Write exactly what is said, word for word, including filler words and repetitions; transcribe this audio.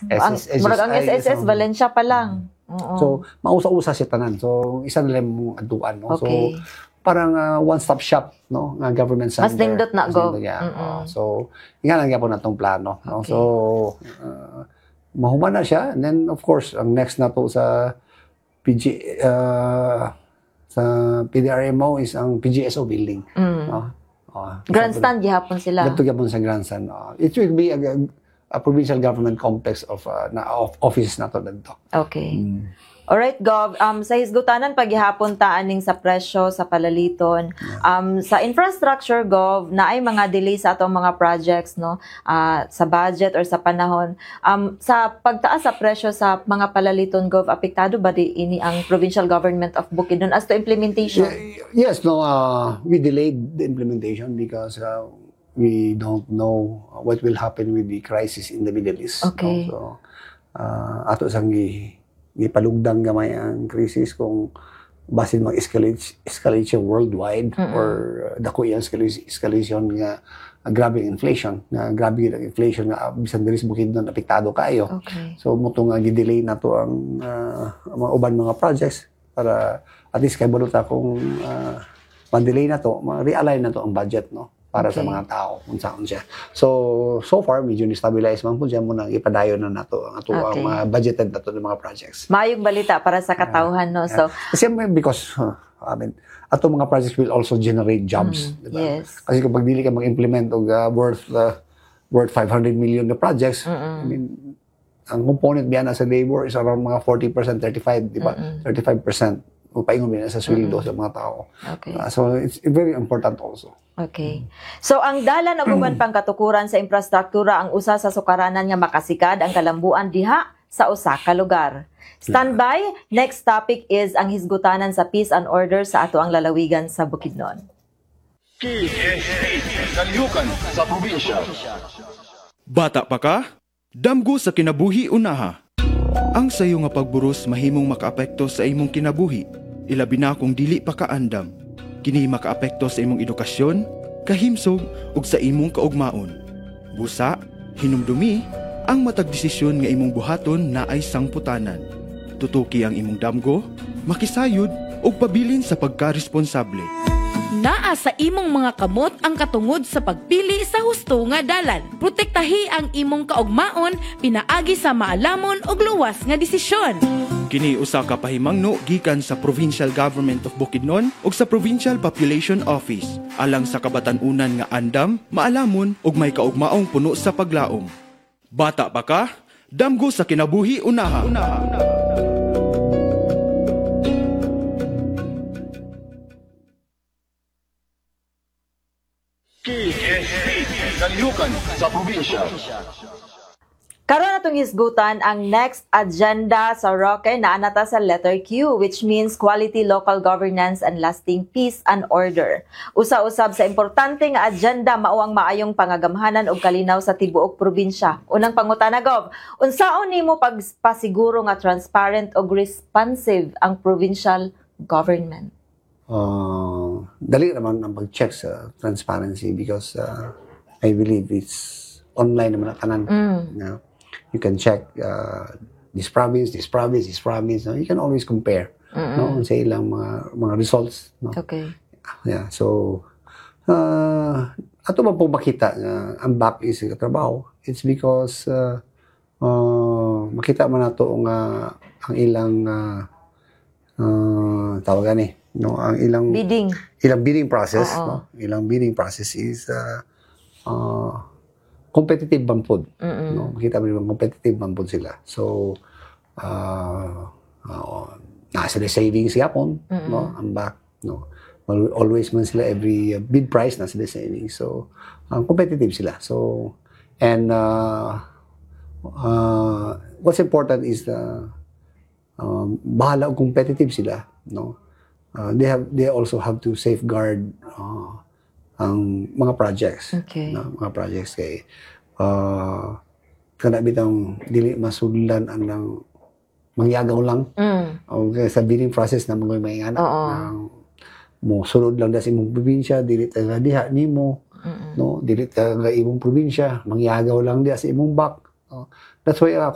Ang, S S S, murag ang ay, S S S, so- Valencia pa lang. Oo. So mausa-usa siya tanan. So isa na lang mong adtuan, no. okay. So parang ah, one-stop shop, no, nga government center. Mas nindot na, Mas Gov. nindot, yeah. Mm-mm. Oh, so nga lang gyapon natong plano, no. Okay. So uh, mahuman na siya, and then of course ang next na to sa P G uh, sa P D R M O is ang P G S O building, Mm. no. Oh, Grandstand gihapon sila. Didto gyapon sa grandstand. Oh. It will be a, a provincial government complex of uh, na of offices na to didto. Okay. Mm. Alright, Gov. Um, sa hisgutanan paghihapon ta aning sa presyo sa palaliton. Um, sa infrastructure, Gov, naay mga delay sa atong mga projects, no? Ah, sa budget or sa panahon. Um, sa pagtaas sa presyo sa mga palaliton, Gov, apektado ba di ini ang provincial government of Bukidnon as to implementation? Yeah, yes, no, uh, we delayed the implementation because uh, we don't know what will happen with the crisis in the Middle East, no? Okay. So, uh, ato sang gi gipalugdang gamay ang crisis kung basin mag-escalate escalate siya worldwide Mm-mm. or uh, dako iyang escalation, escalation nga uh, grabe ang inflation, nga grabe ang inflation nga uh, bisan diri sa Bukidnon apektado kaayo. Okay. So mao to nga gi-delay na to ang uh, mga uban mga projects para at least kay ta kung uh, ma-delay na to, ma-realign na to ang budget, no, para sa Okay. mga tao kung saan siya. So so far medyo ni-stabilize man po siya mo nang ipadayon na nato ang ato ang Okay. mga budgeted nato ng mga projects. Maayong balita para sa katawhan, no? So, Kasi may- because uh, I mean, ato mga projects will also generate jobs, mm, di ba? Yes. Kasi kapag dili ka mag-implement og uh, worth uh, worth five hundred million na projects, Mm-mm. I mean, ang component biya na sa labor is around mga forty percent, thirty-five, di ba? Mm-mm. thirty-five percent o paingon biya sa sweldo sa mga tao. Okay. Uh, so it's very important also. Okay. So ang dalan og uban pang katukuran sa infrastruktura ang usa sa sukaranan nga makasikad ang kalambuan diha sa usa ka lugar. Standby, next topic is ang hisgutanan sa peace and order sa ato ang lalawigan sa Bukidnon. K S P, Kalihukan sa Probinsya. Bata pa ka? Damgo sa kinabuhi unaha. Ang sayo nga pagburos mahimong makaapekto sa imong kinabuhi, ilabi na kung dili pa ka andam. Kini makaapekto sa imong edukasyon, kahimsog ug sa imong kaugmaon. Busa, hinumdumi, ang matag desisyon nga imong buhaton naay sangputanan. Tutuki ang imong damgo, makisayod ug pabilin sa pagkaresponsable. Naa sa imong mga kamot ang katungod sa pagpili sa husto nga dalan. Protektahi ang imong kaugmaon pinaagi sa maalamon ug luwas nga desisyon. Kini usa ka pahimangno gikan sa Provincial Government of Bukidnon ug sa Provincial Population Office alang sa kabatan-unan nga andam, maalamon ug may kaugmaong puno sa paglaom. Bata pa ka? Damgo sa kinabuhi unaha. Unaha. K S P, Kalihukan sa Probinsya. Karon atong hisgutan ang next agenda sa Roque na anata sa letter Q, which means quality local governance and lasting peace and order. Usa-usab sa importante nga agenda mao ang maayong pangagamhanan ug kalinaw sa tibuok probinsya. Unang pangutana, Gov, unsaon nimo pagpasiguro nga transparent ug responsive ang provincial government? Uh, dali naman ang pag-check sa transparency because uh, I believe it's online naman ang tanan. Mm. Yeah. You can check uh, this province, this province, this province. No? You can always compare, Mm-mm. no, sa ilang mga mga results, no. Okay. Yeah, so uh, ato man po makita nga ang B A P is trabaho. It's because uh, uh, makita man nato nga ang ilang uh, uh, tawagan eh, no, ang ilang Bidding. Ilang bidding process, Oo. no, ilang bidding process is uh, uh, competitive man pod, Mm-mm. no. Makita mo yung competitive man pod sila. So uh, uh, naa sila savings yapon, Mm-mm. no, ang B A C, no. Al- always man sila every uh, bid price na sila savings. So um, competitive sila. So and uh, uh, what's important is the um, bahala og competitive sila, no, uh, they have they also have to safeguard uh, ang mga projects, Okay. no, mga projects kay uh, kana bitang dili masudlan ang lang mangyagaw lang Mm. okay sa bidding process na mga may anak Oo. mo sulod lang da sa imong probinsya, dili ta nga diha nimo, Mm-mm. no, dili ta nga imong probinsya, mangyagaw lang diha sa imong B A C, no? That's why ako